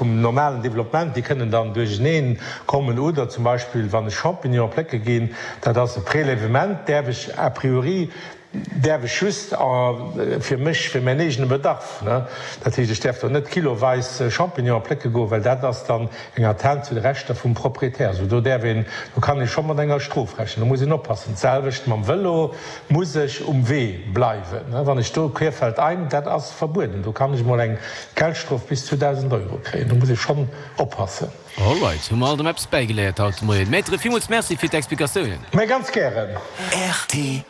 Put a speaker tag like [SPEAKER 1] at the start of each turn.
[SPEAKER 1] vum normalen Développement, déi kënnen dann duercheneen kommen. Oder zum Beispill, wann ech Champignonen plécke ginn, dat ass e Prélèvement, däerf ech a priori, däerf ech just fir mech, fir mäin eegene Bedarf, ne. Dat heescht, ech däerf do net kiloweis Champignonen plécke goen, well dat ass dann eng Atteinte zu de Rechter vum Proprietär. Also do däerf een, do kann ee scho mat enger Strof rechnen. Do muss een oppassen. D'selwecht mam Vëlo, muss ech um Wee bleiwen, wann ech do querfeldein, dat ass verbueden, do kann ech mol eng Geldstrof bis zu 1.000 Euro kréien. Do muss ee schonn oppassen.
[SPEAKER 2] Alright, hu mer alt erëm eppes bäigeléiert haut de Moien. Maître, villmools Merci fir d'Explikatiounen.
[SPEAKER 1] Mä ganz gären.
[SPEAKER 3] Rtl.